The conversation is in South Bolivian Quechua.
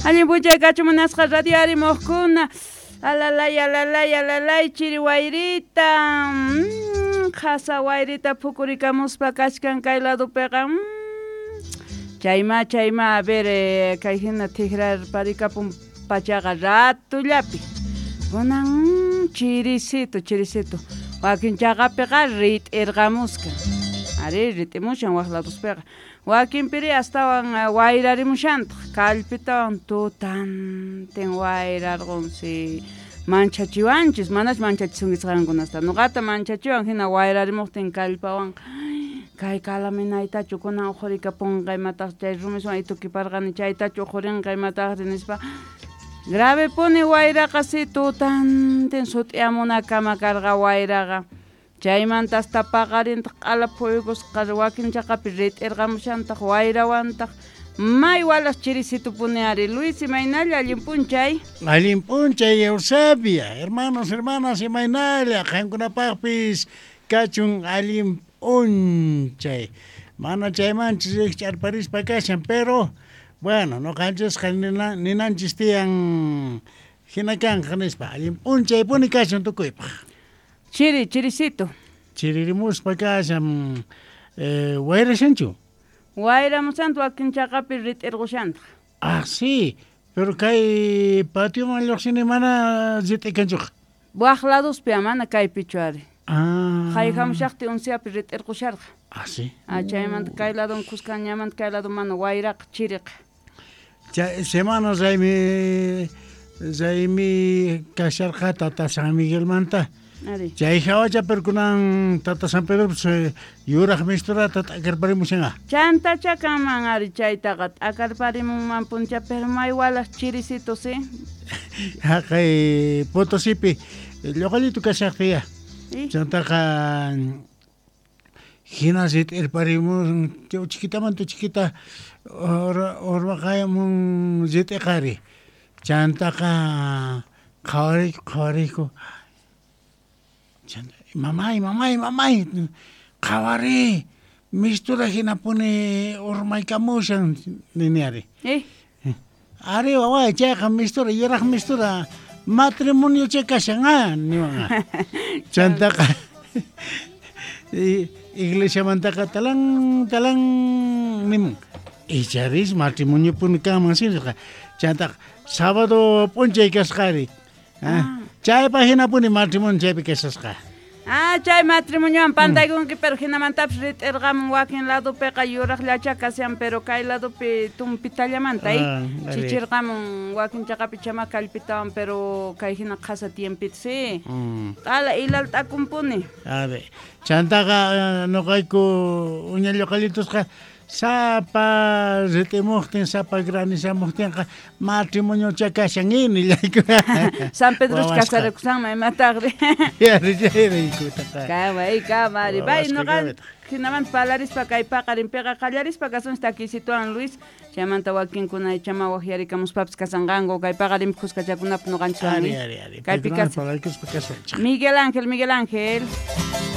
Allin p'unchay kachu munasqa radio arimuqkuna. Alalay, alalay, alalay, chiri wayrita. Qhasa wayrita phukurikamuspa kachkan kay ladopiqa. Chayma, chayma, a ver, kay hina tijrarparikapun pachaqa ratullapi. Kunan chirisito, chirisito. Wakin chaqapiqa rit'irqamuskan. Ari, rit'imushan waq ladospiqa. Wakinpiri astawan wayrarimushantaq, kallpitawan tutantin wayrarqunsi. Manchachiwanchis, manach manchachisunkichis qankunasta. Nuqata manchachiwan hina wayrarimuqtin kallpawanqa. Kay kalaminaytachu kunan uqhurikapunqa imataq chay rumiswan itukiparqani chaytachu uqhurinqa imataqri nispa. Grave puni wayraqa si tutantin sut'iyamunakama karqa wayraqa. Chaymanta hasta paqarintaq q'ala phuyukusqa wakin chaqapi rit'irqamushantaq wayrawantaq. May walas chirisitupuni ari. Luis, imaynalla allin p'unchay? Allin p'unchay, Eusebia. Hermanos, hermanas, imaynalla qankunapaqpis kachun allin p'unchay. Mana chaymanchis rikch'arparispa kashan, pero bueno, noqanchisqa ninanchis tiyan hina kanqa nispa. Allin p'unchaypuni kachun tukuypaq. Chiri, chirisito. Chiririmuspa kashan, wayrashanchu? Wayramushanta wakin chaqapi rit'irqushantaq. Ah, sí, pero kay patioman lluqsini mana rit'ikanchuqa. Waq ladospi mana kaypichu ari. Ah. Hayhamushaqti unsiapi rit'irqusharqa. Ah, sí. Ah, chaymanta kay ladon kuskanñamanta kay lado mana wayraqa chiriqa. Chay semana raymi kasharqa Tata San Miguelmanta. Ari. Chay hawacha pero kunan Tata San Pedro yuraq misturata t'akarparimushanqa. Chantacha kanman ari chaytaqa t'akarparimunman puncha pero may walas chirisito, sí. Haqay Potosipi lluqallitu kashaqtiya. Chantaqa hina rit'irparimun chiquitamanta chiquita urmaqayamun rit'iqari. Chantaqa qhawariyku qhawariyku. Mamay, mamay, mamay, qhawari, mistura hinapuni urmaykamushan nini ari. Ari waway, chayqa mistura, yuraq mistura, matrimonio chay kashan, ah, niwan. Chantaqa iglesiamantaqa talan, talan nimun. Icharis matrimonio puni kanman sirqa. Chantaqa sábado p'unchay kasqari. Chaypa hinapuni matrimonio chaypi kasasqa. Ah, chay matrimoniowan pantaykunki, pero hinamantapis rit'irqamun wakin ladopiqa yuraqllacha kashan, pero kay ladopi tumpitallamanta, chichirqamun wakin chaqapi chama kallpitawan, pero kay hina qhasa tiempito, sí. Q'ala ilalt'akunpuni. A ver, chantaqa nuqayku uña lluqallitusqa sapa rit'imuqtin, sapa granizamuqtinqa matrimoniocha kashan nillayku. San Pedro casarakusanman imataqri. Yarichayrayku. Kamay, kamari. Bay, noqa hinamanta palarispa kay paqarinpiqa qallarispa kasunchis takisituwan Luis. Chaymanta wakinkuna chama waqyarikamuspapis kasanqanku kay paqarinpi kuskachakunapaq noqanchiswan. Ari, ari, ari. Kaypi Paykunawan kasan. palarkuspa kasanchis. Miguel Ángel, Miguel Ángel.